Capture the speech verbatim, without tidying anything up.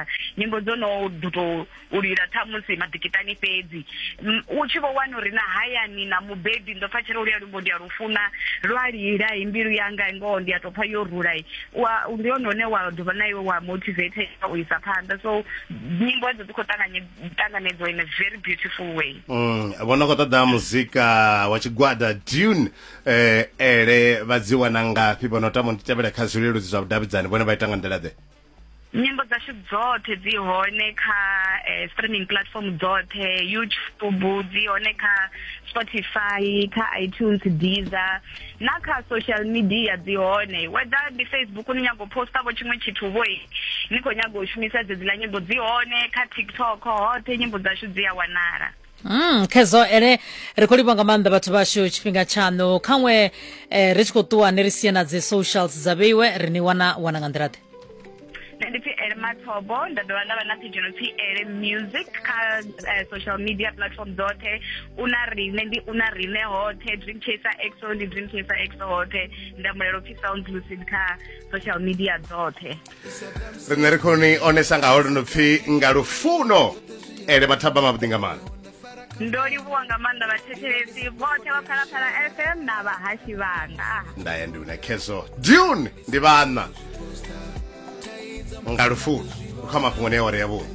takadza, nyimbo dzo no ḓo tou u lila ṱhamusi maḓikitani fhedzi. Mm, u tshi vho wana uri na hayani na mubebi ndo pfa tshiri luya luimbo ndi a lufuna lwa lila i mbilu yanga ngoho ndi a tou pfa yo rula i. Wa ndi hone hune wa dovha na iwe wa motivate u isa phanḓa. So nyimbo edzo dzi khou ṱanganye ṱanganedziwa in a very beautiful way. Mm, vho no khou ṱoḓa muzika wa tshigwada Dune, eh, ele vha dzi wana ngafhi? Vho no tama u tevhela kha zwileludzi zwa vhudavhidzani, vhone vha ita nga nḓila ḓe? Nyimbo dzashu dzoṱhe dzi hone kha eh, streaming platform dzoṱhe, YouTube dzi hone, kha Spotify, kha iTunes, Deezer, na kha social media dzi hone, whether ndi Facebook ni nyago posta vho tshiṅwe tshithu vho ni khou nyaga u shumisa dzedziḽa nyimbo, dzi hone kha TikTok, hoṱhe nyimbo dzashu dzi a wanala. Mm, khezo ene ri khou livha nga maanḓa vhathu vhashu tshifhinga tshaṋu khaṅwe eh, ri tshi khou ṱuwa ni ri sie na dzi socials dza vheiwe, ri ni wana wana nga nḓila ḓe? Nṋe ndi pfi Ele Mathobo, nda dovha nda vha na page no pfi Ele Music kha eh, social media platform dzoṱhe. Una riṋe ndi una riṋe hoṱhe, Dream Chaser X O ndi Dream Chaser X O hoṱhe, Ndamulelo pfi Sound Lucid kha social media dzoṱhe. Riṋe ri khou ni onesa nga holo no pfi nga lufuno. Ele mathaba mavhuḓi nga maanḓa. Ndo livhuwa nga maanḓa vhathetshelesi vhoṱhe vha Phalaphala F M na vhahashi vhanga. Ndaya ndi una Khezo Dune ndi vhana nga lufuno kha mafhungo ne awara ya vhuṋa.